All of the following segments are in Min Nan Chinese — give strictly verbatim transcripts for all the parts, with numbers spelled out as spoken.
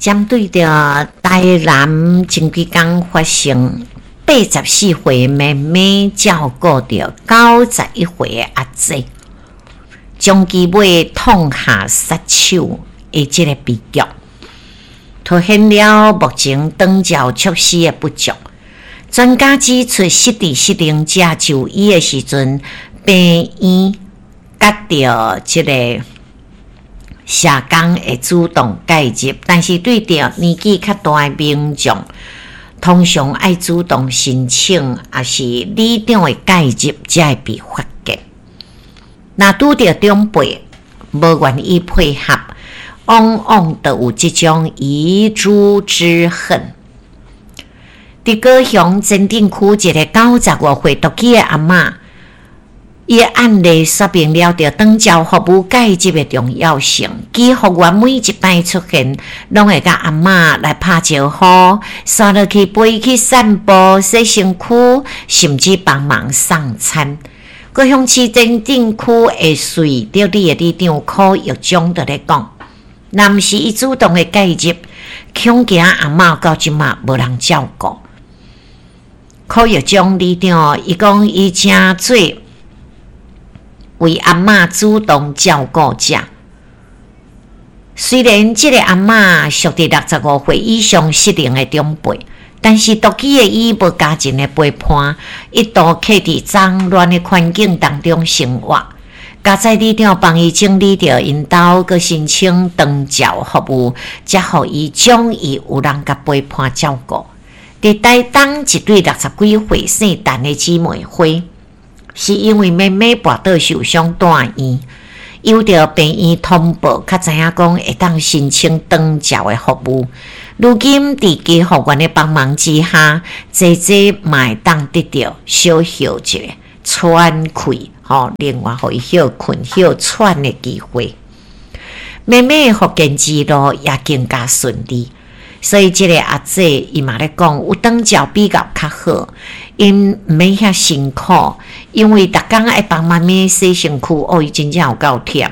針對著台南前幾工發生八十四歲妹妹照顧著九十一歲的阿姐，將其尾痛下殺手的這个悲劇，凸顯了目前長照措施的不足。專家指出，失智失能者就醫的時陣，病院佮著這个社工會主動介入，但是對著年紀較大的民眾，通常愛主動申請，抑是里長的介入，才會被發現。若拄著長輩無願意配合，往往就有這種遺珠之恨。佇高雄前鎮區一个九十五歲獨居的阿嬤，伊的案例說明了著長照服務介入的重要性。居服員每一擺出現，攏會佮阿嬤來拍招呼，紲落去陪去散步、洗身軀，甚至幫忙送餐。高雄市前鎮區的穗德里的里長柯玉章就咧講，若毋是伊主動的介入，恐驚阿嬤到這馬無人照顧。柯玉章里長伊講，伊誠做為阿嬤主動照顧者。雖然這个阿嬤屬佇六十五歲以上失能的長輩，但是獨居的伊無家人的陪伴，一度徛佇髒亂的環境當中生活。佳哉里長幫伊整理著𪜶兜，閣申請長照服務，才予伊將伊有人共陪伴照顧。佇台東一對六十幾歲姓陳的姊妹花，是因為妹妹跋倒受傷住院，由著病院通報，才知影講會當申請長照的服務。如今佇居服員的幫忙之下，姐姐嘛會當得著小歇一下喘氣，吼，另外予伊歇睏、歇喘的機會。妹妹的復健之路也更加順利。所以這个阿姐伊嘛咧講，有長照比較較好，𪜶毋免遐辛苦，因為逐工愛幫媽咪洗身軀，哦，伊真正有夠忝。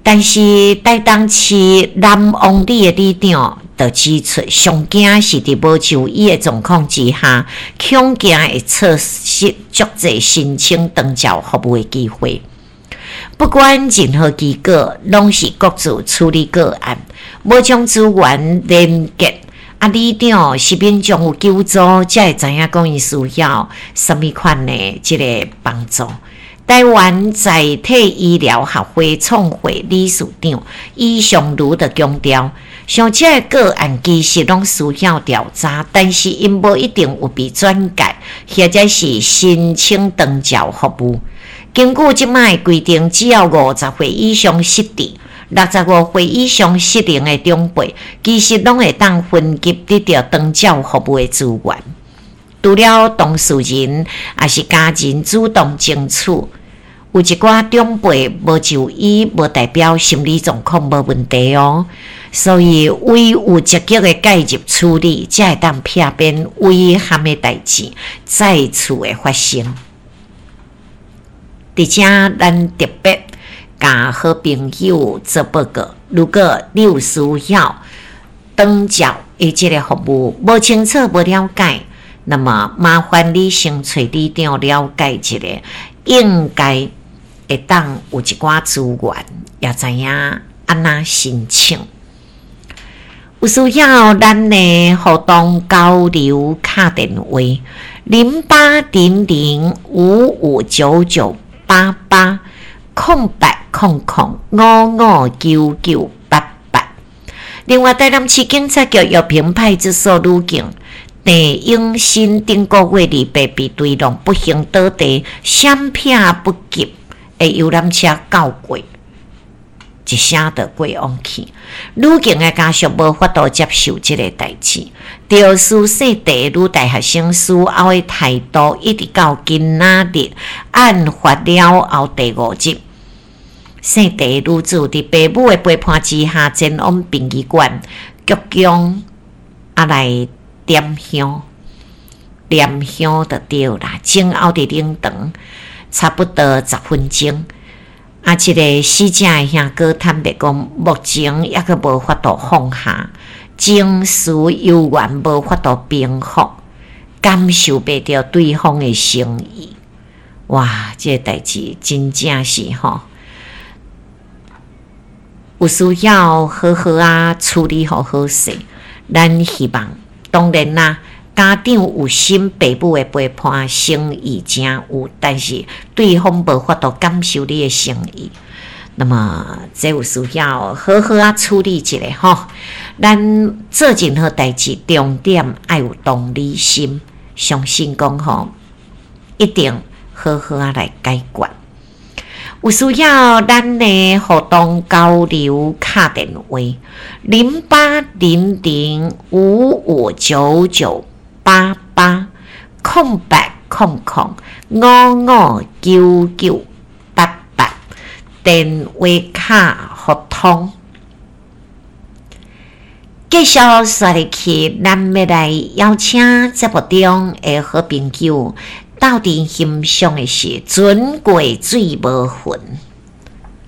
但是台東市南王里的里長就指出，上驚是佇無就醫的狀況之下，恐驚會錯失足濟申請長照服務的機會。不管任何機構，攏是各自處理個案，無將資源連結。啊，里長是民眾有求助，才會知影講𪜶需要啥物款的這个幫助。台灣在體醫療學會創會理事長伊尚如就強調，像這个個案其實攏需要調查，但是𪜶無一定有被轉介，或者是申請長照服務。根據這擺的規定，只要五十歲以上失智、六十五歲以上失能的長輩，其實攏會當分級得著長照服務的資源。除了當事人，抑是家人主動爭取，有一寡長輩無就醫，無代表心理狀況無問題哦。所以，唯有積極的介入處理，才會當避免遺憾的代誌再次的發生。佇遮，咱特別共好朋友做報告。如果你有需要長照的這个服務，無清楚、無了解，那麼麻煩你先揣里長了解一下，應該會當有一寡資源，也知影按怎申請。有需要咱的互動交流敲電話零八零零五五九九八八空八空空五五九九八八。另外，台南市警察局玉屏派出所女警鄭永新頂個月二八被追撞，不幸倒地，閃避不及的遊覽車轎過，一聲就過往去。女警的家屬無法度接受這个代誌，肇事姓鄭的女大學生事後的態度，一直到今仔日案發了後第五日，姓鄭的女子佇爸母的陪伴之下，前往殯儀館鞠躬啊來點香，念香就對啦。前後佇靈堂差不多十分鐘。啊，這个死者的兄哥坦白講，目前猶閣無法度放下，情緒猶原無法度平復，感受袂著對方的誠意。哇！這个代誌真正是吼，有需要好好仔處理予好勢。咱希望，當然啦，家長有心，爸母的陪伴誠意誠有，但是對方無法度感受你的誠意。那麼，這有需要好好仔處理一下吼。咱做任何代誌，重點愛有同理心，相信講吼，一定好好仔來解決。有需要咱的互動交流敲電話零八零零五五九九八八空八空空五五九九八八，電話卡互通。繼續煞入去，咱欲來邀請節目中的好朋友鬥陣欣賞的是船過水無痕。